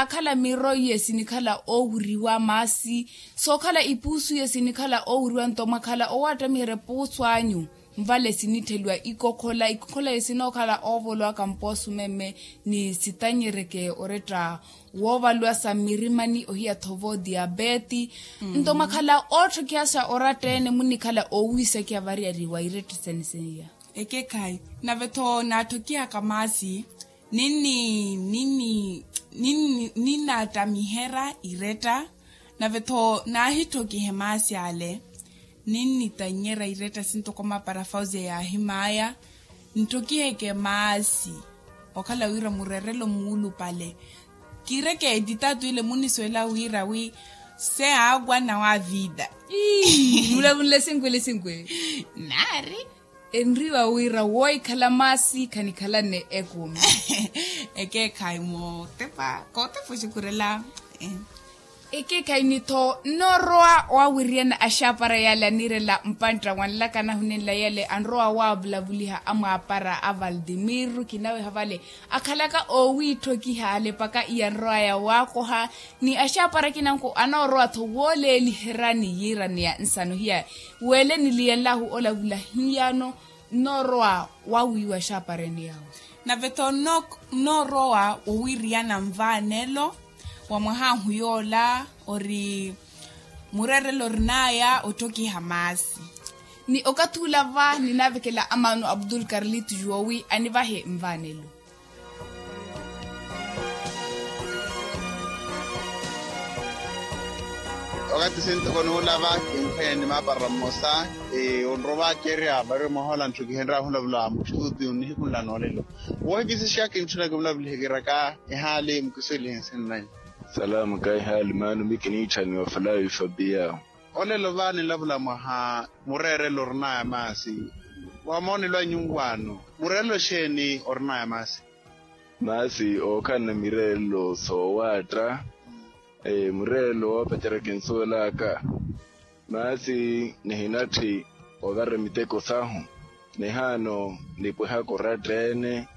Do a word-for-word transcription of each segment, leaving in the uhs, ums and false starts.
akhala miro iye sinikhala oowiriwa maasi, sookhala ipuusu iye sinikhala oowiriwa nto mwakhala owaattamihera epuusu anyu. Nvale sinittheliwa ikokhola ikokhola iye sinookhala oovolowaka mpoosumeme ni sitanyereke oretta woovaluwa sa mmirimani ohiya thovo diabeeti. Nto mwakhala ootthokihasa oratta-ene munnikhala oowiisakiha variyari wa iretta sene seiya. Ekekhayi. Nave-tho naatthokihaka maasi ninni ninni ninni ninnaattamihera iretta. Nave-tho naahittokihe maasi ale ninnitanyera iretta sintoko mapara fausia yaahimaya. Ntthokiheke maasi okhala wira murerelo muulupale. Kiireke editatu ile munisuwela wira wi se aakwa nawa avida. Mulavunle sinkwe le sinkwe. Naari enriwa wira woikhala maasi khanikhalanne ekumi. Ekeekhayi mootepa kootepa oxikurela. Ekeekhayi ni-tho nnoorowa wawiriyana axaapara yale anirela mpantta wanlaka anahunenla yale anrowa wavulavuliha amwaapara a valdimir kinaweha vale akhalaka oowiitthokiha alepaka iyanrowaya waakoha. Ni axaapara akinanku anoorowa-tho wooleeliherani yiiraneya nsano hiya weele niliyanlahu olavula hiyano nnoorowa wawiiwa axaapareni yaawe. Nave-tho nnoorowa wowiriyana nvaanelo wa mwahaahu yoola ori mureerelo orinaya otthokiha maasi. Ni okathi ula va ninaavekela amaano abdul karlito juwowi anivahe nvaanelo. Okathi sintoko nuulava kinkhweya ni maapara mmosa onrowa vacerya vario mwahola ntthu kihenryahu olavula mutthu oti onnihikhunla noolelo. Woohikisixa kintthuna kimulavulihe kiraka ehaali mukiswelihe nsinnanyu. Salaamu ka ehaali maano mi kiniitthaniwa falavi fabiya. Olelo va nilavula mwaha mureerelo orinaya maasi. Wa moonelo anyu nwaano mureerelo xeeni orinaya maasi? Maasi ookhalana mireerelo soowaatta. Mureerelo woopacerya kinsuwelaka. Maasi nihinatthi ovara miteko sahu. Nihaano nipwehaka oratta-ene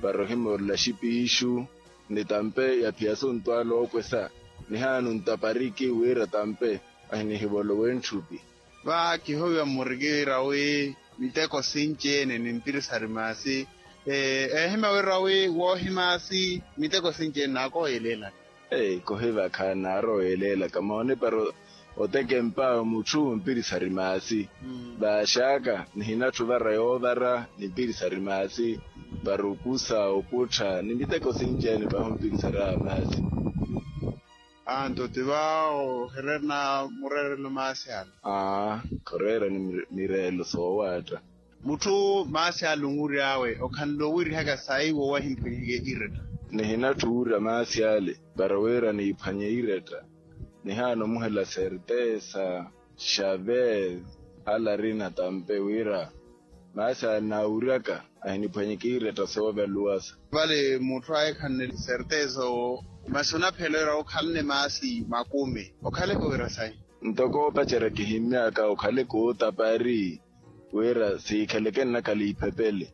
para ohimoorela xipiixu. Ni tampe yaphiya sontwaala ookwesa. Nihaano ntapariki wira tampe ahinihivolowe ntthupi. Va kihowiwa mmuriki wira wi miteko sinci-ene ni mpirisari maasi. Eehimya wira wi woohi maasi miteko sinci-ene naakooyeleelaka. Kohiva khaana arowa oyeleelaka moone para otekempa mutthu mpirisari maasi. Vaaxaka nihinatthi ovara yoovara ni mpirisari maasi. Para okusa oputtha ni miteko sinci-ene pahi ompirisari a maasi. Anto ti va ohererina mureerelo maasi ale. Aa khoreerani mireelo soowaatta. Mutthu maasi ale onwiryawe okhanle owirihaka sayi wowahimpwihike iretta? Nihinatthu owirya maasi ale para wira niiphwanye iretta. Nihaana omuhela sertesa xaver alarina tampe wira maasi ale naawuryaka ahiniphwanyeke iretta soovaluwasa. Vale mutthu aye khanne sertesa owo masi onaphela wira okhalane maasi makumi okhaleke owira sayi? Ntoko opacerya kihimmyaka okhaleke ootapari wira siikhaleke nnakhala iphepele.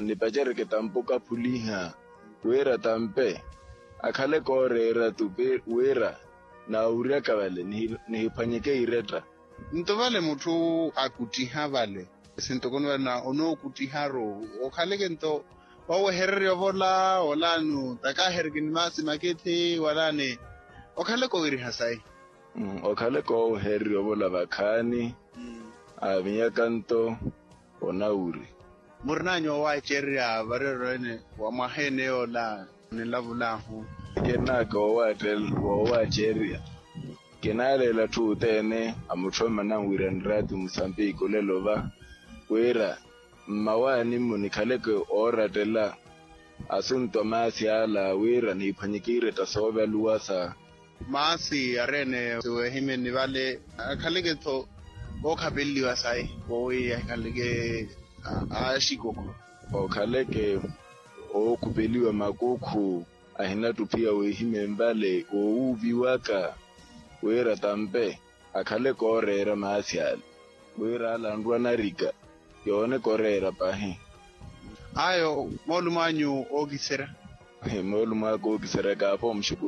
Nipaceryeke tampe okaphuliha wira tampe akhaleke ooreera tupi wira naawuryaka vale nihiphwanyeke iretta. Nto vale mutthu akuttiha vale sintokoni vale na onookuttiharu okhaleke nto owehererya ovola olaano takaahereke ni maasi makethi walaani okhaleke owiriha sayi? Okhaleke oowehererya ovola vakhaani aavinyaka nto onawuri. Murinanyu oowaacererya varirorwene wa mwaha ene yoola nilavulahu? Kirinaka oowaacererya kinaaleela atthu othene amutthu ommana nwira niraati musambiki olelo va wira mmawaani-mo nikhaleke oorattela asuntu a maasi ala wira niiphwanyeke iretta soovaluwasa. Maasi ari ene siweehimyeni vale akhaleke-tho ookhapeleliwa sayi wowi ahikhaleke aaxikoko? Okhaleke ookhupeliwa makukhu ahinattuphiya weehimyeni vale woowuuviwaka wira tampe akhaleke ooreera maasi ale wira ala anrwa narika yooneke oreera pahi. Ayo moolumo anyu ookiserya? Moolumo aka ookiserya kaapha omuxuku.